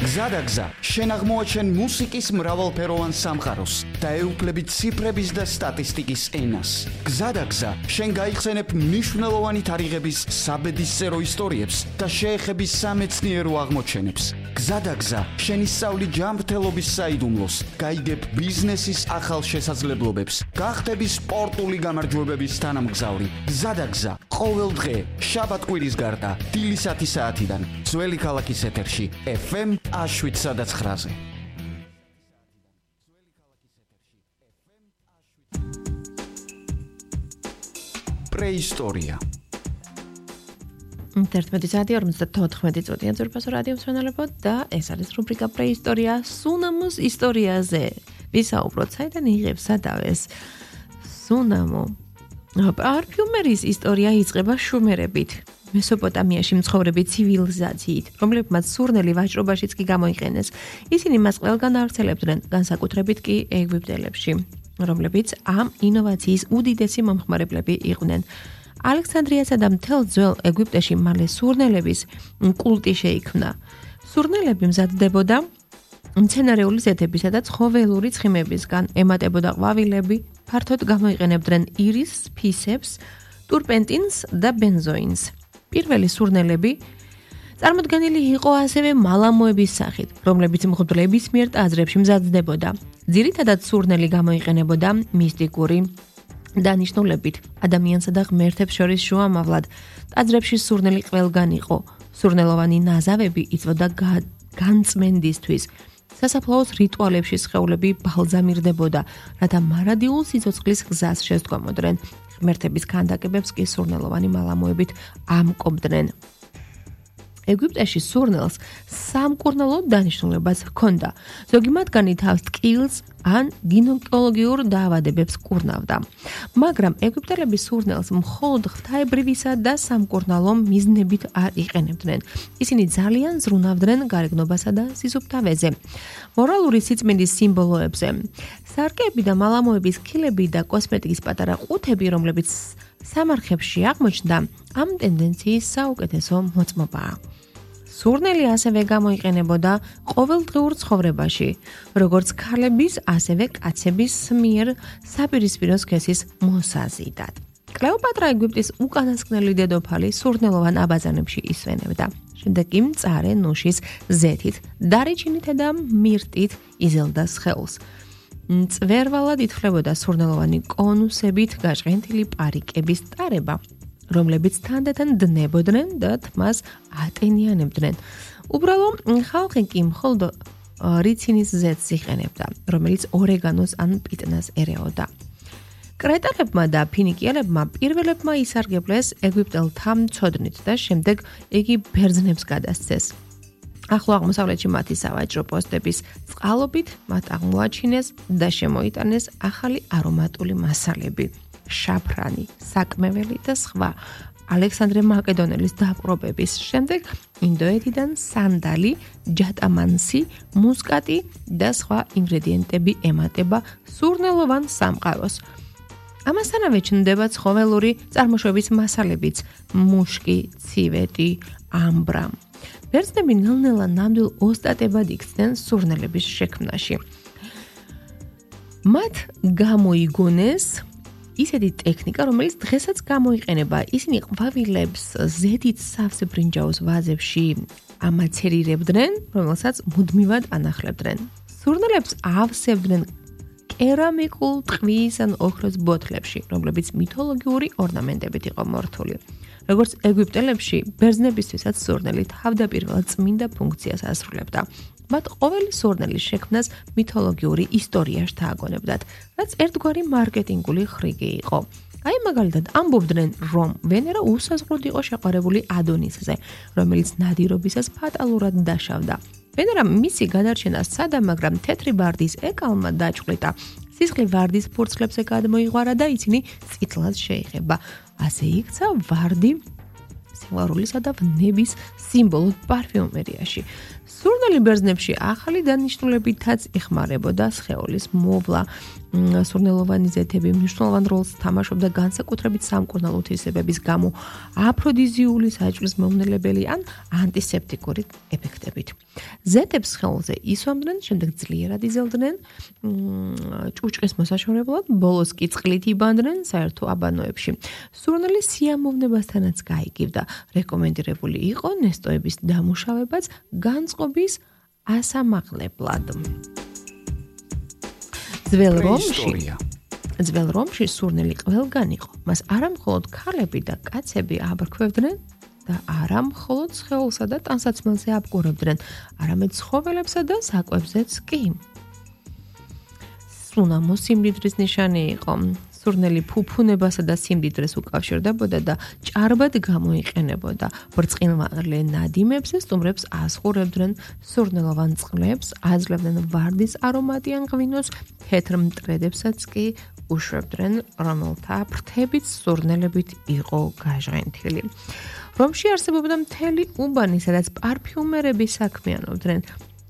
გზადაგზა, შენ აღმოაჩენ მუსიკის მრავალფეროვან სამყაროს და ეუფლები ციფრების და სტატისტიკის ენას. გზადაგზა, შენ გაიხსენებ მნიშვნელოვანი თარიღების საბედისწერო ისტორიებს და შეეხები სამეცნიერო აღმოჩენებს. გზადაგზა, შენ ისწავლი ჯანმრთელობის საიდუმლოს, გაიგებ ბიზნესის ახალ შესაძლებლობებს, გახდები სპორტული გამარჯვებების თანამგზავრი. გზადაგზა, ყოველ დღე, შაბათ-კვირის გარდა, დილის 10 საათიდან, ძველი ქალაქის ეთერში, FM 7-9-ზე. პრეისტორია. 11 საათი 54 წუთია ძვირფასო რადიო მსმენელებო და ეს არის რუბრიკა პრეისტორია სუნამოს ისტორიაზე. ვისაუბროთ, საიდან იღებს სადავეს სუნამო. პარფიუმერის ისტორია იწყება შუმერებით. მესოპოტამიაში მცხოვრები ცივილიზაციით, რომლებმაც სურნელი ვაჭრობაშიც კი გამოიყენეს. ისინი მას ყველგან ავრცელებდნენ, განსაკუთრებით კი ეგვიპტელებში, რომლებიც ამ ინოვაციის უდიდესი მომხმარებლები იყვნენ. ალექსანდრიასა და მთელ ძველ ეგვიპტეში მალე სურნელების კულტი შეიქმნა. სურნელები მზადდებოდა მცენარეული ზეთებისა და ცხოველური ცხიმებისგან, ემატებოდა ყვავილები, ფართოდ გამოიყენებდნენ ირისს, ფისებს, ტურპენტინს და ბენზოინს. პირველი სურნელები წარმოდგენილი იყო ასევე მალამოების სახით, რომლებიც მღვდლების მიერ ტაძრებში მზადდებოდა. ძირითადად სურნელი გამოიყენებოდა მისტიკური დანიშნულებით, ადამიანსა და ღმერთებს შორის შუამავლად. ტაძრებში სურნელი ყველგან იყო. სურნელოვანი ნაზავები იწვოდა განწმენდისთვის. სასაფლაოს რიტუალებში სხეულები ბალზამირდებოდა, რათა მარადიულ სიცოცხლის გზას შესდგომოდნენ. ღმერთების ქანდაკებებს კი სურნელოვანი მალამოებით ამკობდნენ. ეგვიპტეში სურნელს სამკურნალო დანიშნულებას ჰქონდა. ზოგი მათგანი თავს ტკივილს ან გინეკოლოგიურ დაავადებებს კურნავდა. მაგრამ ეგვიპტელები სურნელს მხოლოდ ღვთაებრივისა და სამკურნალო მიზნებით არ იყენებდნენ. ისინი ძალიან ზრუნავდნენ გარეგნობასა და სისუფთავეზე, მორალური სიწმინდის სიმბოლოებზე. სარკეები და მალამოების ქილები და კოსმეტიკის პატარა ყუთები, რომლებიც სამარხებში აღმოჩნდა, ამ ტენდენციის საუკეთესო მოწმობაა. სურნელი ასევე გამოიყენებოდა ყოველდღიურ ცხოვრებაში, როგორც ქალების, ასევე კაცების მიერ საპირისპირო სქესის მოსაზიდად. კლეოპატრა ეგვიპტის უკანასკნელი დედოფალი სურნელოვან აბაზანებში ისვენებდა. შემდეგ კი მწარე ნუშის ზეთით, დარიჩინითა და მირტით იზელდა სხეულს. მწვერვალად ითვლებოდა სურნელოვანი კონუსებით გაჟღენთილი პარიკების ტარება, რომლებიც თანდათან დნებოდნენ და თმას ატენიანებდნენ. უბრალო ხალხი კი მხოლოდ რიცინის ზეთს იყენებდა, რომელიც ორეგანოს ან პიტნას ერეოდა. კრეტალებმა და ფინიკიელებმა პირველებმა ისარგებლეს ეგვიპტელთა მცოდნით და შემდეგ იგი ბერძნებს გადასცეს. ახლო აღმოსავლეთში მათი სავაჭრო პოსტების წყალობით მათ აღმოაჩინეს და შემოიტანეს ახალი არომატული მასალები, შაფრანი, საკმეველი და სხვა. ალექსანდრე მაკედონელის დაპყრობების შემდეგ ინდოეთიდან სანდალი, ჯატამანსი, მუსკატი და სხვა ინგრედიენტები ემატება სურნელოვან სამყაროს. ამასთანავე ჩნდება ცხოველური წარმოშობის მასალებიც, მუშკი, ცივეტი, ამბრა. ბერძნები ნელ-ნელა ნამდვილ ოსტატებად იქცნენ სურნელების შექმნაში. მათ გამოიგონეს ისეთი ტექნიკა, რომელიც დღესაც გამოიყენება. ისინი ყვავილებს ზედით სავსე ბრინჯაოს ვაზებში ამაცერირებდნენ, რომელსაც მუდმივად ანახლებდნენ. სურნელებს ავსებდნენ კერამიკულ ტყვის ან ოქროს ბოთლებში, რომლებიც მითოლოგიური ორნამენტებით იყო მორთული. როგორც ეგვიპტელებში, ბერძნებისთვისაც სურნელი თავდაპირველად წმინდა ფუნქციას ასრულებდა. მათ ყოველი სურნელის შექმნას მითოლოგიური ისტორია შთააგონებდათ, რაც ერთგვარი მარკეტინგული ხრიგი იყო. აი მაგალითად ამბობდნენ, რომ ვენერა უსაზღვროდ იყო შეყვარებული ადონისზე, რომელიც ნადირობისას ფატალურად დაშავდა. ვენერა მისი გადარჩენა სცადა, მაგრამ თეთრი ვარდის ეკალმა დაჭყლიტა. სისხლი ვარდის ფურცლებზე გადმოიღვარა და ისინი წითლად შეიღება. ასე იქცა ვარდი სიმღერულისა და ვნების სიმბოლოდ პარფიუმერიაში. სურნელი ბერძნებში ახალი დანიშნულებითაც იხმარებოდა სხეულის მოვლა. სურნელოვანი ზეთები მნიშვნელოვან როლს თამაშობდა განსაკუთრებით სამკურნალო უთვისებების გამო, აფროდიზიული საჭმლის მომნელებელი ან ანტისეპტიკური ეფექტებით. ზეთებს სხეულზე ისვამდნენ, შემდეგ ძლიერად იზელდნენ ჭუჭყის მოსაშორებლად, ბოლოს კი წყლით იბანდნენ საერთო აბანოებში. სურნელი სიამოვნებასთანაც გაიგივდა. რეკომენდირებული იყო ნესტოების დამუშავებაც განწყობის ასამაღლებლად. ძველ რომში სურნელი ყველგან იყო. მას არა მხოლოდ ქალები და კაცები აბრქვევდნენ და არა მხოლოდ სხეულსა და ტანსაცმელზე აბგურებდნენ, არამედ ცხოველებსა და საკვებზეც კი. სუნამო სიმდიდრის ნიშანი იყო. სურნელი ფუფუნებასა და სიმდიდრეს უკავშირდებოდა და ჭარბად გამოიყენებოდა. ბრწყინვალე ნადიმებზე სტუმრებს ასხურებდნენ, სურნელოვან წყლებს აძლევდნენ ვარდის არომატი ან ღვინოს, თეთრ მტრედებსაც კი უშვებდნენ, რომელთა ფრთებით სურნელებით იყო გაჟღენთილი. რომში არსებობდა მთელი უბანი, სადაც პარფიუმერები საქმიანობდნენ.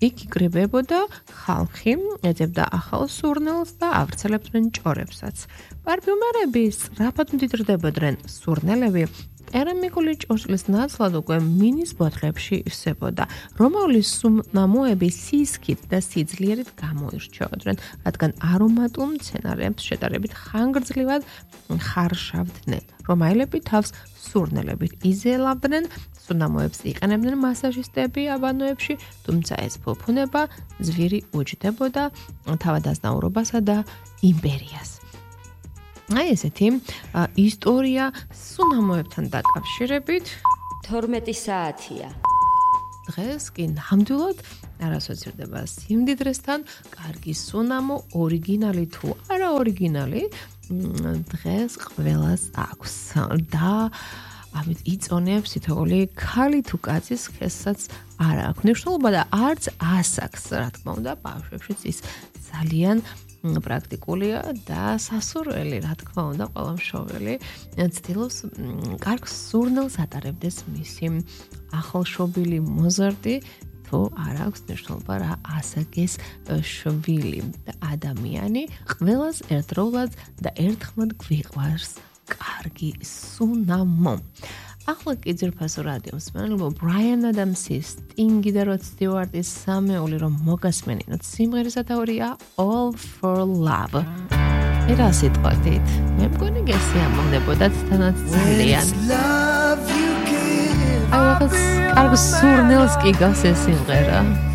იქ იკრიბებოდა ხალხი, ეძებდა ახალ სურნელს და ავრცელებდნენ ჭორებსაც. პარფიუმერები სწრაფად მდიდრდებოდნენ, სურნელები კერამიკული ჭურჭლის ნაცვლად უკვე მინის ბოთლებში ივსებოდა. რომაული სუნამოები სისქით და სიძლიერით გამოირჩეოდნენ, რადგან არომატულ მცენარეებს შედარებით ხანგრძლივად ხარშავდნენ. რომაელები თავს სურნელებით იზელავდნენ, სუნამოებს იყენებდნენ მასაჟისტები აბანოებში, თუმცა ეს ფუფუნება ძვირი უჯდებოდა თავადაზნაურობასა და იმპერიას. აი ესეთი ისტორია სუნამოებთან დაკავშირებით 12 საათია. დღეს კი ნამდვილად არ ასოცირდება სიმდიდრესთან, კარგი სუნამო, ორიგინალი თუ არა ორიგინალი, დღეს ყველას აქვს და ამით იწონებს თითოეული ქალი თუ კაცის ხესაც არ აქვს მნიშვნელობა და არც ასაკს, რა თქმა უნდა, ბავშვებშიც ის ძალიან პრაქტიკულია და სასურველი, რა თქმა უნდა, ყველა მშობელი ცდილობს კარგ სურნელს ატარებდეს მისი ახალშობილი მოზარდი, თუ არ აქვს მნიშვნელობა რა ასაკის შვილი და ადამიანი, ყველას ერთდროულად და ერთხმად გვიყვარს კარგი სუნამო. ახლა კი ძირფასო რადიო მსმენელებო, ბრაიან ადამსის, სტინგი და როდ სტიუარტის სამეული რომ მოგასმენინოთ, სიმღერის სათაურია All for Love. ერა სიტყვათით, მე მგონი გესიამოვნებოდათ თანაც ძალიან. აი, რაღაც კარგ სურნელს კი გავს ეს სიმღერა.